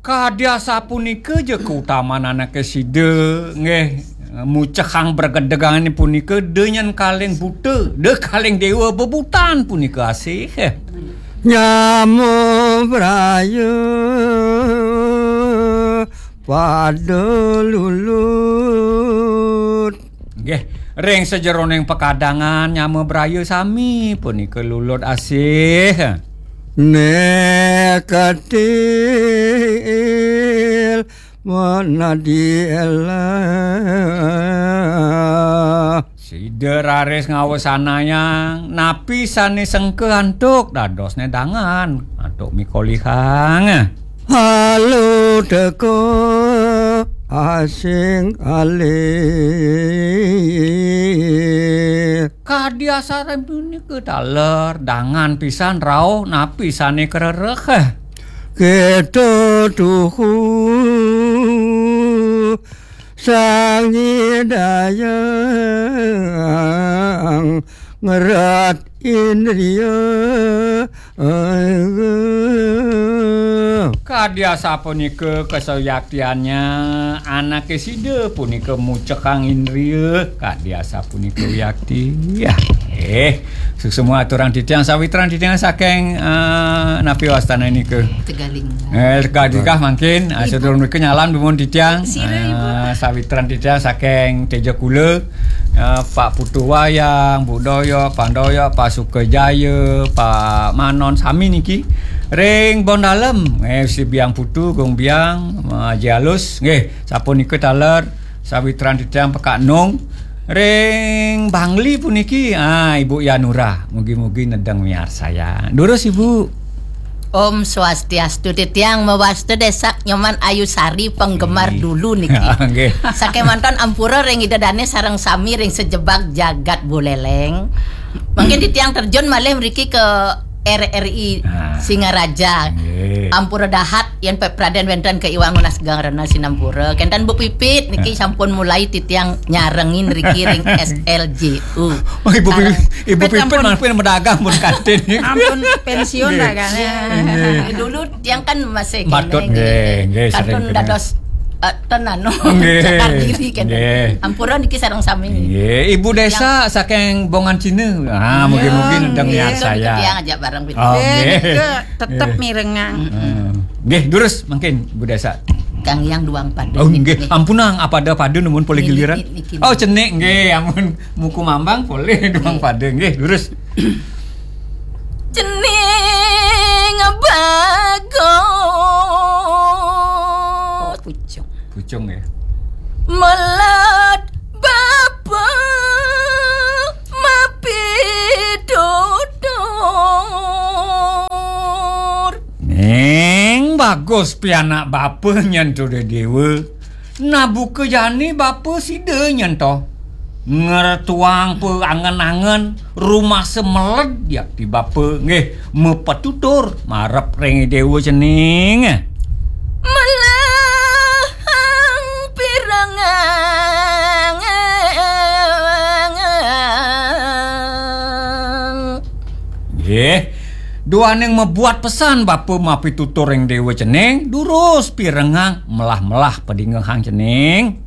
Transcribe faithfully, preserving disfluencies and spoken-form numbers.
Kadi asapunika ja kautaman anaké sida, nggih, mucehang bregedegang punika, da nyen kaling buta, da kaling déwa bebutan punika asih. Nyama braya pada lulut. Nggih, ring sajeroning pakadangan nyama braya sami punika lulut asih. Neketil manadi elah. Sida raris ngawasanayang napi sané sengka antuk dadosné dangan, antuk mikolihang. Halo teka asing alih. Kadi asapunika taler, dangan pisan rauh napi sané karereh. Kita tuhu sang nyidayang ngerat indria. Kadi asapunika kasayaktiannya anaké sida punika mucekang indria, kadi asapunika wiakti. Ya. Eh, suksma aturang titiang, sawitran titiang saking, eh, napi wastana nika? Tegaling. Eh, Tegaling mangkin, eh, Ibu. Sadurung nika nyalam dumun titiang. Sira, Ibu. Eh, sawitran titiang saking Tejakula, eh, Pak Putu Wayang, Bu Doyok, Pak Doyok, Pak Sukajaya, Pak Manon, sami niki. Ring Bondalem, eh, si Biang Putu, Gung Biang, eh, Haji Alus, nggih, sapunika taler, sawitran titiang Pekak Nung. Ring Bangli puniki, ah, Ibu Yanura, mugi-mugi nedeng miarsayang. Durus, Ibu. Om Swastiastu, titiang mawasta Désa Nyoman Ayu Sari, penggemar Ih. Dulu niki. Nggih. Sakémanten ampura ring Ida Dané sareng sami ring sajebag jagat Buleleng. Mangkin titiang terjun malih mriki ke R R I Ah. Singaraja. Nggih. Ampura dahat yén pepradén wénten kaiwang nunas geng rena sinampura. Kénten Bu Pipit niki Ah. sampun mulai titiang nyarengin riki ring S L J U. Oh, Ibu Sareng Pipit, Ibu Pipit Pipit ampun. Mampir medagang pun kantin. Ampun pensiun Nggih. Dah kan. Nggih. Dulu tiang kan masih Patut, kéné, nggih, nggih, kantun sering dados, eh, ten anu, nggih. Cakar diri kan. Nggih. Ampura niki sareng sami. Nggih, Ibu Désa Yang saking Bongan Cina. Ah, mungkin-mungkin Nggih. Niki tiang ajak bareng. Oh, nggih. Nggih, nika tetep Nggih. Mirengang. Hmm. Nggih, durus mungkin Bu Désa. Kang Yang duang pada Oh, niki, nggih. Nggih. Ampunang, apada-pada numun polih Niki, giliran. Niki, niki. Oh, cenik nggih, ampun. Muku mambang polih duang Nggih. Pada nggih, durus. Cening bagus. Oh, pucung. Pucung ya. Melet bapa mapitutur. Ning bagus pianak bapa nyen tuduh dewa. Nabuka jani bapa sida nyen to. Ngretuang pa angen-angen rumasa meled yakti bapa nggih mapetutur marep ring dewa cening. Melahang pirengang. Nggih, duaning mabuat pesan bapa mapitutur ring dewa cening, durus pirengang melah-melah padingehang cening.